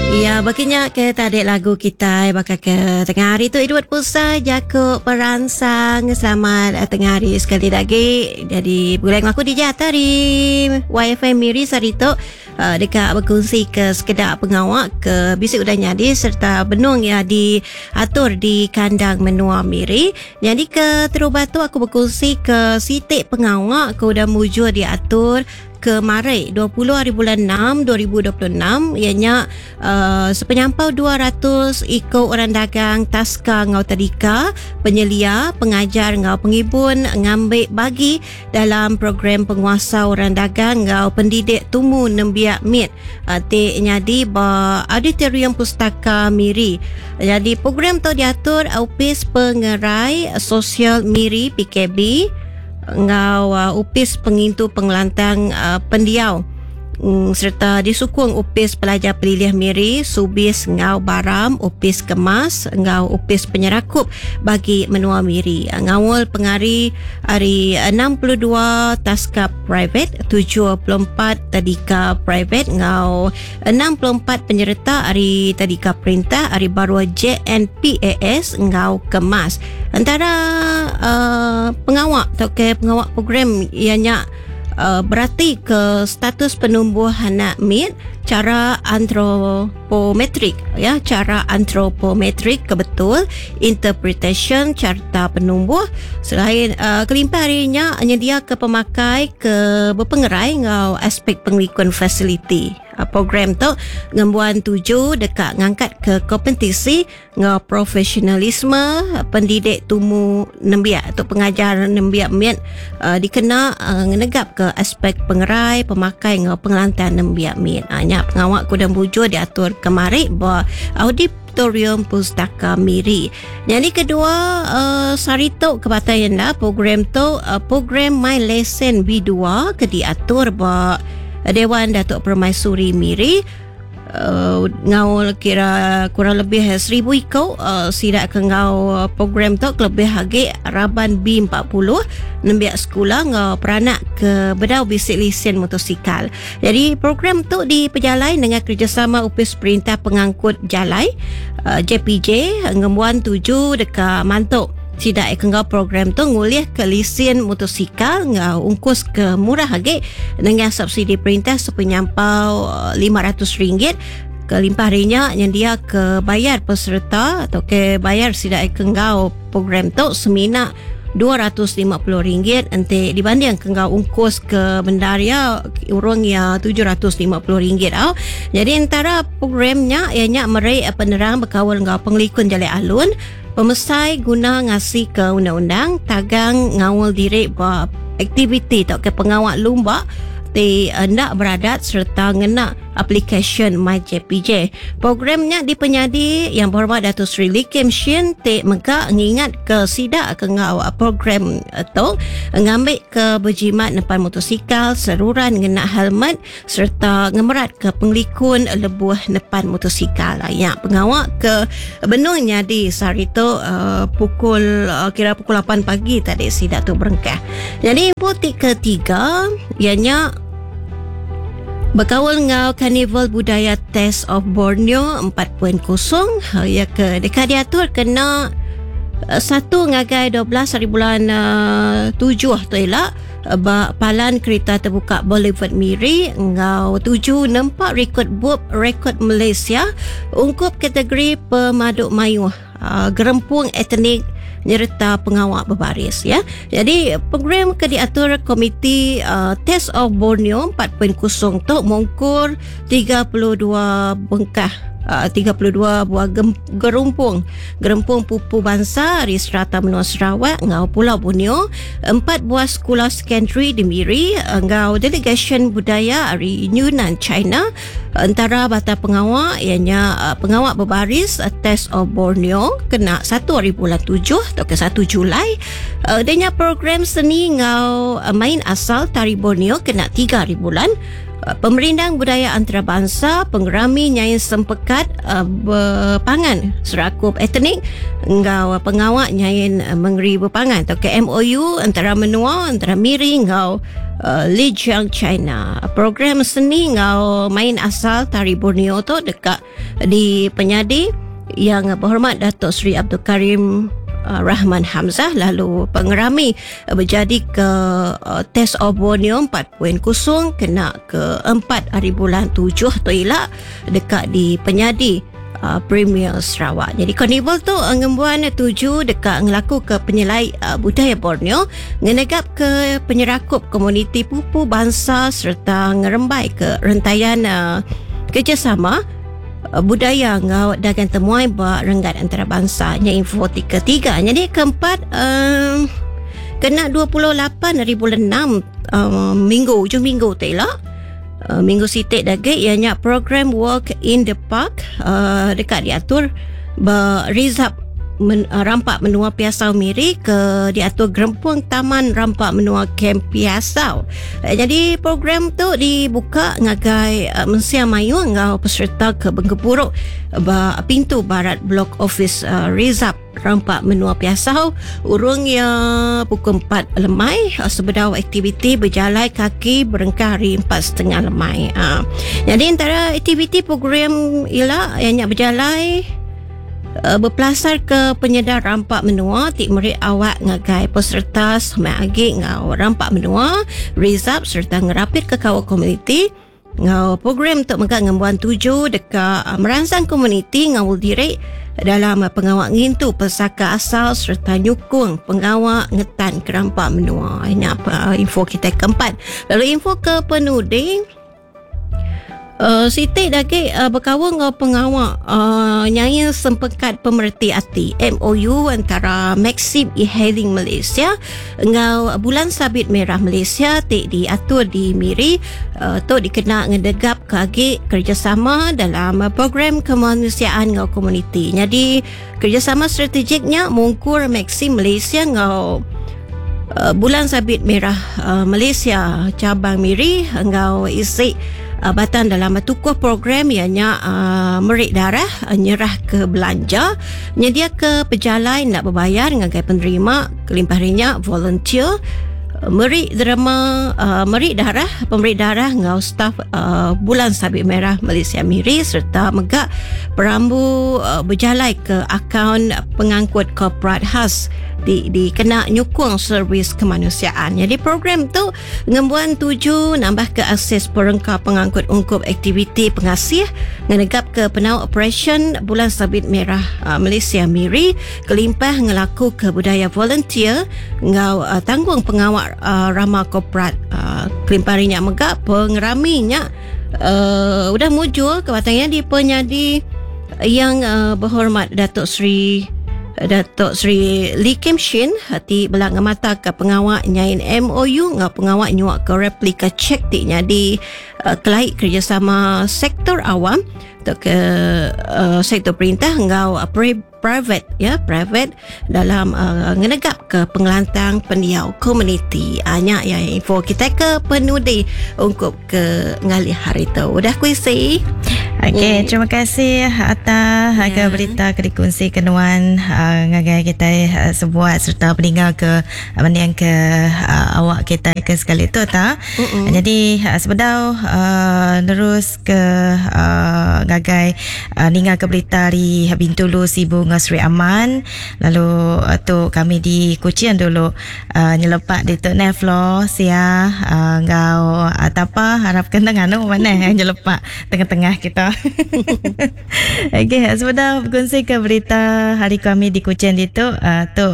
Ya, baka nya ke tadi lagu kitai baka ke tengah hari tu Edward Pusa jaku peransang selamat eh, tengah hari sekali lagi. Jadi begulai dengan aku DJ Atta di YFM Miri sehari tu uh, deka berkongsi ke sekeda pengawa ke bisi udah nyadi serta benung ya diatur di kandang menua Miri. Jadi ke terubah tu aku berkongsi ke siti pengawa ke udah mujur diatur kemari 20 hari bulan 6 2026 iya nya uh, sepenyampau 200 iku orang dagang taska enggau tadika penyelia pengajar enggau pengibun ngambi bagi dalam program penguasa orang dagang enggau pendidik tumu nembiak mit uh, ti nyadi ba Auditorium Pustaka Miri. Jadi program tu diatur Opis Pengerai Sosial Miri PKB enggau uh, Opis Pengintu Pengelantang uh, Pendiau mm, serta disukung Opis Pelajar Pelilih Miri, Subis enggau Baram, Opis Kemas enggau Opis Penyerakup bagi menua Miri. Uh, ngaul pengari ari 62 taska private, 74 tadika private enggau 64 penyereta ari tadika perintah ari baruh JNPAS enggau Kemas. Entara uh, pengawa tauka pengawa program iya nya uh, berati ke status penumbuh anak mit cara antropometrik ya cara antropometrik ke betul interpretation carta penumbuh selain uh, kelimpah hari nya nyedia ke pemakai ke berpengerai enggau aspek pengelikun fasiliti. Program tu ngembuan tuju deka ngangkat ke kompetisi enggau profesionalisme pendidik tumu nembiak atau pengajar nembiak mit uh, dikena uh, ngenegap ke aspek pengerai, pemakai enggau pengelantang nembiak mit. Uh, nya pengawa ku mujur diatur kemari ba Auditorium Pustaka Miri. Jadi kedua uh, sehari tu ke batai enda program tu uh, program My Lesson B2 ke diatur ba Dewan Datuk Permaisuri Miri uh, ngaul kira kurang lebih 1000 iko uh, sidak ke ngau program tu lebih lagi raban B40 nembiak sekolah ngau peranak ke bedau bisi lesen motosikal. Jadi program tu dipejalai dengan kerjasama Opis Perintah Pengangkut Jalai uh, JPJ ngembuan tuju deka mantuk sidak ke ngau program tu ngulih ke lesen motosikal ngau ungkus ke murah lagi dengan subsidi perintah sepenyampau RM500 ke limpah harinya yang dia ke bayar peserta atau ke bayar sidak ke ngau program tu semina RM250 enti dibanding ke ngau ungkus ke bendaria urang ya RM750 au. Jadi antara programnya ianya meri penerang berkawal ngau pengelikun jalai alun pemesai guna ngasih ke undang-undang tagang ngawal diri ba aktiviti atau ke pengawal lumba ti hendak beradat serta ngena aplikasi MyJPJ. Programnya dipenyadi yang berhormat Datuk Seri Lee Kim Shin ti mega ngingat ke sidak ke ngau program tu ngambil ke berjimat nepan motosikal seruran ngena helmet serta ngemerat ke pengelikun lebuh nepan motosikal. Ya, pengawak ke benungnya di sehari tu uh, pukul uh, kira pukul 8 pagi tadi sidak tu berengkah. Jadi info ketiga ianya berkawal ngau Karnival Budaya Taste of Borneo 4.0 ya ke dekat diatur kena 1 ngagai 12 hari bulan uh, 7 tu elak ba palan kereta terbuka Boulevard Miri ngau tuju nempak rekod bub rekod Malaysia ungkup kategori pemaduk mayuh uh, gerempung etnik nyerta pengawak berbaris ya. Jadi program ke diatur Komiti uh, Taste of Borneo 4.0 tu mungkur 32 bengkah uh, 32 buah gerumpung gerempung pupu bangsa di serata menua Sarawak ngau Pulau Borneo, 4 buah sekolah secondary di Miri ngau delegation budaya dari Yunnan China. Antara bata pengawak ianya uh, pengawak berbaris uh, Taste of Borneo kena 1 hari bulan 7 atau ke 1 Julai. Uh, denya program seni ngau uh, main asal tari Borneo kena 3 hari bulan. Pemerindang budaya antarabangsa, pengerami nyain sempekat bepangan serakup etnik enggau pengawa nyain mengeri bepangan atau ke MOU antara menua antara Miri enggau Lijiang China. Program seni enggau main asal Tari Borneo tu deka di penyadi Yang Berhormat Datuk Seri Abdul Karim Rahman Hamzah lalu pengerami berjadi ke Test of Borneo 4.0 kena ke 4 hari bulan 7 tu ila dekat di penyadi Premier Sarawak. Jadi karnival tu ngembuan tuju dekat ngelaku ke penyelai budaya Borneo, ngenegap ke penyerakup komuniti pupu bangsa serta ngerembai ke rentayan kerjasama budaya ngau dagang temuai ba renggat antarabangsa. Nya info ketiga. Jadi keempat, kena 28 hari bulan 6, minggu ujung minggu tu lah. Minggu sitik dagi ianya program Walk in the Park dekat diatur ba Rizab Rampak Menua Piasau Miri ke diatur Gerempung Taman Rampak Menua Kem Piasau. Jadi program tu dibuka ngagai mensia mayu ngau peserta ke Bengkepuruk ba pintu barat blok office Rizab Rampak Menua Piasau urung ya pukul 4 lemai sebedau aktiviti berjalai kaki berengkah hari 4.30 lemai. Jadi antara aktiviti program ialah ianya berjalai berpelasar ke penyedar rampak menua ti meri awak ngagai peserta semak agi ngau rampak menua Rizab serta ngerapit ke kawal komuniti. Ngau program tu mega ngembuan tuju deka merangsang komuniti ngau diri dalam pengawak ngintu pesaka asal serta nyukung pengawak ngetan kerampak menua. Ini apa info kita keempat. Lalu info ke penuding Siti lagi berkawal ngau pengawak nyain sempekat pemerhati ati MOU antara Maxim E-Hailing Malaysia ngau Bulan Sabit Merah Malaysia ti diatur di Miri tu dikena ngedegap ke agi kerjasama dalam program kemanusiaan ngau komuniti. Jadi kerjasama strategiknya mungkur Maxim Malaysia ngau Bulan Sabit Merah Malaysia cabang Miri ngau isi batan dalam tukuh program ianya merik darah, nyerah ke belanja, nyedia ke pejalai nak berbayar ngagai penerima, kelimpah rinya volunteer, merik derma, merik darah, pemberi darah ngau staf Bulan Sabit Merah Malaysia Miri serta megak perambu berjalai ke akaun pengangkut korporat khas di dikena nyukung servis kemanusiaan. Jadi program tu ngembuan tuju nambah ke akses perengka pengangkut ungkup aktiviti pengasih ngenegap ke penau operation Bulan Sabit Merah Malaysia Miri kelimpah ngelaku ke budaya volunteer ngau tanggung pengawak rama korporat kelimpah rinya megak pengeraminya udah mujur kebatangnya di penyadi yang berhormat Datuk Seri Lee Kim Shin hati belang mata ke pengawak nyain MOU ngau pengawak nyuak ke replika cek ti di kelaik kerjasama sektor awam atau ke sektor perintah ngau private ya private dalam ngenegap ke pengelantang pendiau komuniti. Anya ya info kita ke penudi ungkup ke ngalih hari tu. Udah kuisi. Okey, terima kasih atas ke berita ke dikongsi kenuan ngagai kita sebuat serta peninggal ke mending ke awak kita ke sekali tu ta. Jadi sebedau terus ke ngagai ninggal ke berita di Bintulu Sibu ngau Sri Aman lalu tu kami di Kuching dulu nyelepak di tu Neflo sia ngau tapa harapkan tengah mana nyelepak tengah-tengah kita. Okey, sebentar berkongsi ke berita hari kami di Kuching itu tu.